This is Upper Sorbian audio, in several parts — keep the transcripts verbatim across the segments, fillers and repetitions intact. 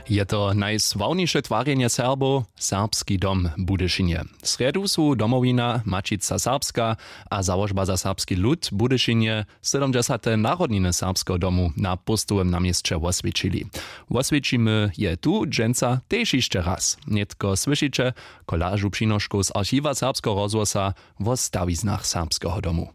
Je to najsławniše twarjenje Serbow, Serbski dom w Budyšinje. W srjedu su Domowina, Maćica Serbska a Załožba za serbski lud w Budyšinje sydomdźesate narodniny Serbskeho domu na Póstowym na měsće woswjećili. Woswjećimy je tu dźensa tež hišće raz. Nětko słyšiće kolažu přinoškow z archiwa Serbskeho rozhłosa wo stawiznach Serbskeho domu.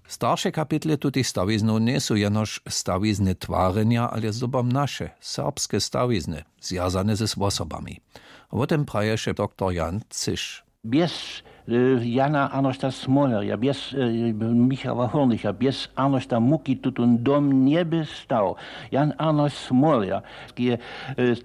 Starše kapitle tutych stawiznow njejsu jenož stawizny twarjenja, ale zdobom naše, serbske stawizny, zwjazane z wosobami. Wo tym praješe doktor Jan Cyš. Bjez e, Jana Arnošta Smolerja, bjez e, Michała Hurnicha, bjez Arnošta Muki tutón dom njeby stał. Jan Arnošt Smoler je e,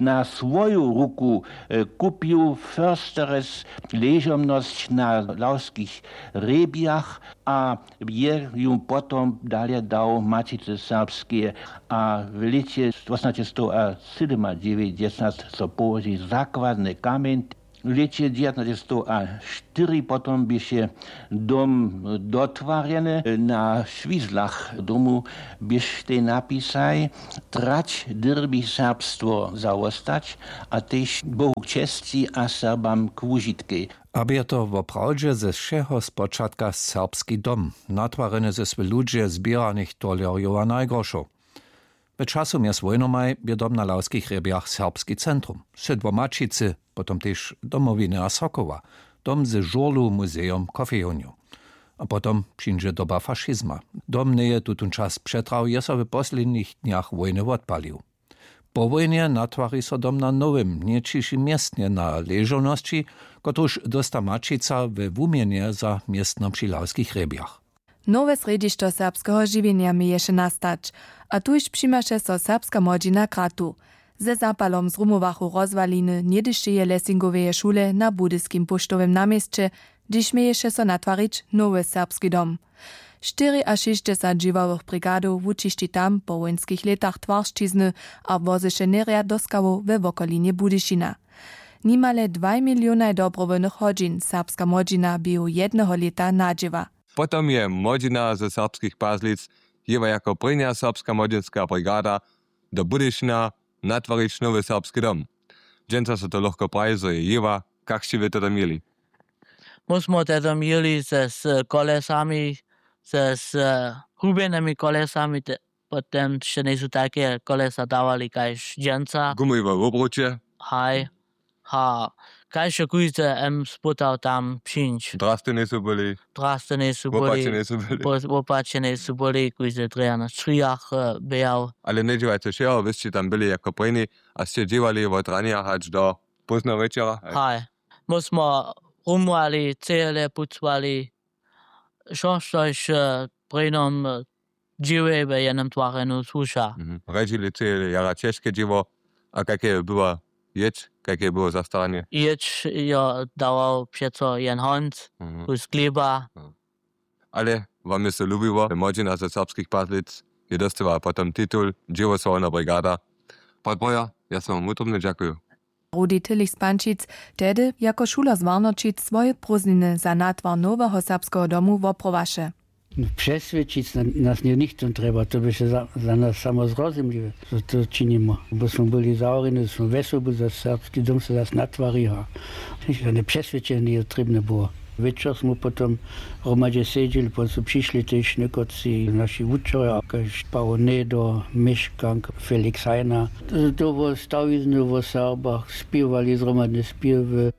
na swoju ruku e, kupił Försteres ležomnosć na Lawskich hrjebjach a je ju potom dalje dał Maćicy Serbskeje a w lěće tśinasćsetstowašěćdźesat so połoži zakładny kamjeń. W lěće dźewjatnaće stow a štyri potom běše dom dotwarjeny. Na šwizlach domu běštej napisaj: Trać dyrbi serbstwo zawostać a tež Bohu k česći a Serbam k wužitkej. A bě to woprawdźe ze wšeho spočatka serbski dom, natwarjeny ze swy ludźe zběranych tolerjow a najgoršow. W času mjez wójnomaj bě dom na Lawskich hrjebjach serbski centrum, sydło Maćicy, potom tež Domowiny a Sokoła, dom ze žurlu, muzejom, kofejownju. A potom přińdźe doba fašizma. Dom njeje tutón čas přetrał, je so w poslednich dnjach wójny wotpalił. Po wójnje natwari so dom na nowym, něćišim městnje na ležownosći, kotruž dósta Maćica we wuměnje za městno při Lawskich hrjebjach. Nowe srjedźišćo serbskeho žiwjenja měješe nastać, a tuž přimaše so serbska młodźina kratu. Ze zapalom zrumowachu rozwaliny něhdyšeje Lessingoweje šule na budyskim póštowym naměsće, hdźež měješe so natwarić nowy serbski dom. Štyriašěsćdźesat dźěławych brigadow wučišći tam po wójnskich lětach twaršćizny a wozyše něhrjad do skałow we wokolinje Budyšina. Nimale dwaj milionaj dobrowólnych hodźin serbska młodźina běhu jedneho lěta nadźěła. Potom je młodźina ze Serbskich Pazlic jěła jako prěnja serbska młodźinska brigada do Budyšina natwarić nowy serbski dom. Dźensa so to lochko praji, zo je jěła. Kak sće wy to tam jěli? My smo te tam jěli ze z kolesami, ze z hubjenymi kolesami, te, potom sće njejsu tajke kolesa dawali kaž dźensa. Gumowe wobruće. Haj. Ha, kaž je kóždy em spytał tam přińć. Drasty njejsu byli. Drasty njejsu byli. Wopačeni su byli. Wopačeni su byli, kóždy drje na strijach běhał. Ale njedźěłajce wšeho, wy sće tam byli jako prěni a sće dźěłali wot ranja hač do pózneho wječora. Haj. My smo rumowali, cejele pucowali, wšo štož prěnom dźěłej we jednym twarjenju słuša. Rjedźili cejele jara ćežke dźěło. A kake je była jědź, kake je było zastaranje? Jědź jo dawał přeco jen honc, kus chlěba. Ale wam je so lubiło, młodźina ze Serbskich Pazlic je dostała potom titul dźěłosławna brigada. Podboja, ja so wam wutrobnje dźakuju. Rudi Tillich z Pančic tehdy jako šuler z Warnoćic swoje prózdniny za natwar noweho serbskeho domu woprowaše. Přeswědčić nas něchtó trjeba, to běše za nas samo zrozumliwe, zo to činimy. Bo smy byli zawrjeni, zo smy wjesobu, zo serbski dom so zas natwari a žane přeswědčenje njeje trěbne było. Wječor smy potom hromadźe sedźeli, potom su přišli tež někotři naši wučerjo, kaž Pawo Nedo, Měškank, Felix Hajna. To wo stawizny, wo Serbach spěwali zhromadne spěwy.